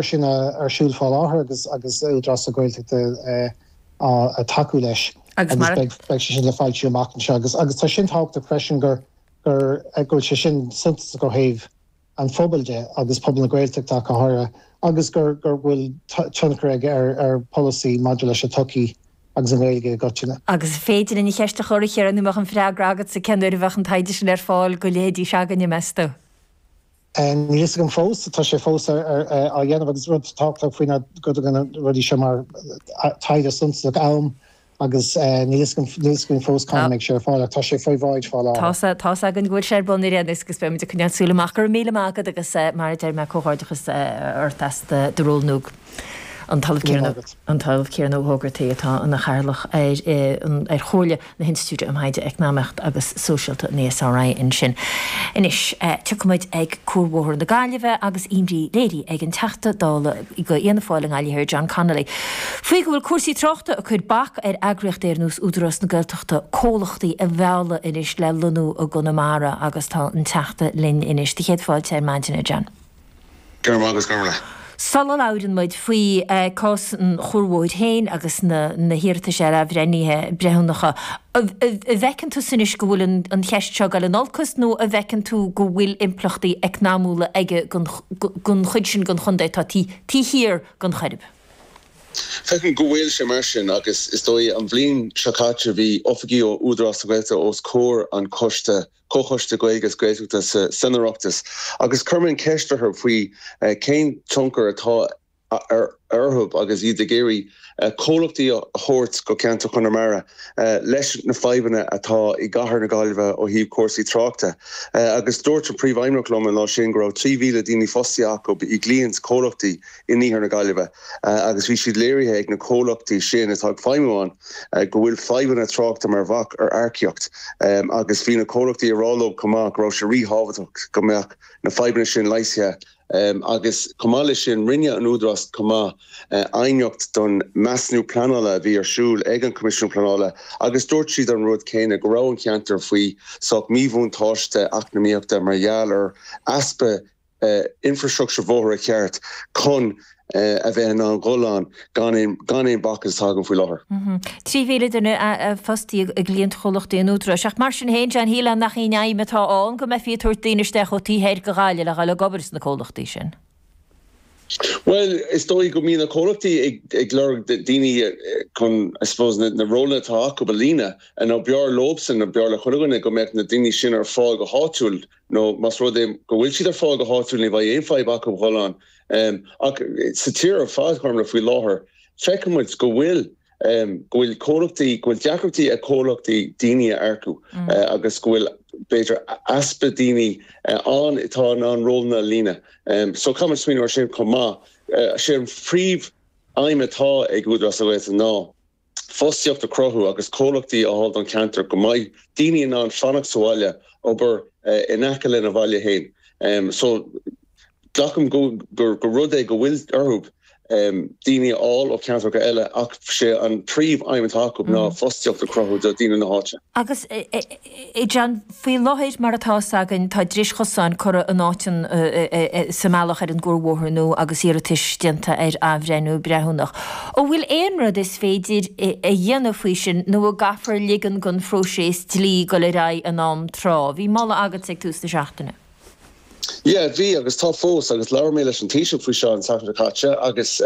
sin ar siúl fá láthair agus agus Údarás na Gaeltachta ag tacú leis agus beidh sé sin le foilsiú amach anseo agus agus tá sin tábhachtach freisin gur gur go bhfuil sé sin suntasach ó thaobh an phobail de agus pobal na Gaeltachta ach go háirithe agus gur gur bhfuil tionchar aige ar ar pholasaí maidir leis an tsochaí agus an Ghaeilge i gcoitinne. Agus an féidir linn an cheist a chur, a Chiaráin, nó an mbeadh an freagra agatsa cén uair a bheadh an taighde sin ar fáil go leithéidí s'againne, meas tú? Níl a fhios agam fós, tá sé fós á dhéanamh agus rud tábhachtach faoi ná go dtugann na rudaí seo mar taighde suntasach am agus níl a fhios agam, níl a fhios againn fós cá mbeidh sé ar fáil ach tá sé faoi bhráid fá láthair. Tá's againn go bhfuil sé ar bun ar aon nós agus beidh muid ag coinneáil súil amach. Go raibh míle maith agat agus mar a deir mé comhghairdeachas ort as do ról nua. An tOllamh Ciarán An tOllamh Ciarán Ó hÓgartaigh atá ina chathaoirleach ar ar Chomhairle na hInstitiúide um Thaighde Eacnamaíochta agus Sóisialta, an ESRI, ansin. Anois, tiocfaidh muid ag Cuarbhóthar na Gaillimhe agus imní léirithe ag an Teachta Dála do Fhianna Fáil i nGaillimh Thiar, John Connolly, faoi go bhfuil cúrsaí tráchta ag cur bac ar eagraíochtaí ar nós Údarás na Gaeltachta comhlachtaí a mhealladh anois le lonnú i gConamara agus tá an Teachta linn anois. Do chéad fáilte ar maidin, a John. Go raibh maith agat, Gormlaith. Sula labhrann muid faoi cás an chuarbhóthair féin agus na hiarratais ar athbhreithnithe breithiúnacha, an bhfeiceann tusa anois go bhfuil an cheist seo ag dul in olcas nó an bhfeiceann tú go bhfuil impleachtaí eacnamúla aige don chuid sin den chontae atá taobh thiar den Choirib? Feicim go bhfuil sé mar sin agus is dóigh an bhliain seo caite bhí oifigigh ó Údarás na Gaeltachta os comhair an choiste Comhchoiste Gaeilge is Gaeltachta san Oireachtas agus chuir mé an cheist orthu faoi cén tionchar atá orthu agus iad ag iarraidh comhlachtaí a thabhairt go ceantar Chonamara leis na fadhbanna atá i gcathair na Gaillimhe ó thaobh cúrsaí tráchta. Agus dúirt an Príomhfheidhmeannach liom an lá sin go raibh 3,000 daoine fostaithe acu i gcliaint comhlachtaí in iarthar na Gaillimhe agus bhí siad léirithe ag na comhlachtaí sin atá ag feidhmiú ann go bhfuil fadhbanna tráchta mar bhac ar earcaíocht agus bhí na comhlachtaí ag rá leo chomh maith go raibh sé ríthábhachtach go mbeadh na fadhbanna sin leigheasaithe agus chomh maith leis sin rinne an Údarás chomh maith aighneacht don measúnú pleanála a bhí ar siúl ag an Coimisiún Pleanála agus dúirt siad an rud céanna go raibh an ceantar faoi sách míbhuntáiste eacnamaíochta mar gheall ar easpa infreastruchtúr bóithre ceart chun a bheith in ann dhul ann gan aon gan aon bhac is atá againn faoi láthair. 3,000 duine fostaithe i gcliantchomhlachtaí an Údaráis. Ach mar sin féin, John, shílfeá nach í an aidhm atá ann go mbeifí ag tabhairt daoine isteach ó taobh thoir de Ghaillimh le dhul ag obair sna comhlachtaí sin. Bhuel, is dóigh go mbíonn na comhlachtaí ag ag lorg daoine chun, I suppose, na na rólanna atá acu a líonadh. Nó b'fhearr leobsan, nó b'fhearr le chuile dhuine go mbeadh na daoine sin ar fáil go háitiúil. Nó más rud é go bhfuil siad ar fáil go háitiúil ní bheidh aon fadhb acu dhul ann. Ach sa tír ar fad, Gormlaith, faoi láthair, feiceann muid go bhfuil, go bhfuil comhlachtaí, go bhfuil deacrachtaí ag comhlachtaí daoine a earcú agus go bhfuil, b'fhéidir, easpa daoine ann atá in ann rólanna a líonadh. So caithfidh muid smaoineamh ar sin chomh maith. Sé an phríomh-aidhm atá ag Údarás na Gaeltachta ná, fostaíocht a chruthú agus comhlachtaí a fháil don cheantar go mbeidh daoine in ann fanacht sa bhaile, obair in aice lena bhaile féin. So, glacaim gur rud é go bhfuil orthu daoine a fháil ó cheantracha eile ach sé an príomh aidhm atá acu ná fostaíocht a chruthú do daoine na háite. Agus, a John, faoi láthair, mar atá fhios againn, tá dris chosáin curtha in áit an, sa mbealach ar an gCuarbhóthar nua agus iarratais déanta ar athbhreithniú breithiúnach. An bhfuil aon rud is féidir a dhéanamh faoi sin nó an gcaithfear ligean don phróiseas dlí dul ar aghaidh in am tráth? Bhí moladh agatsa ag tús na seachtaine. Yeah, bhí agus tá fós agus labhair mé leis an Taoiseach faoi seo an tseachtain seo caite agus.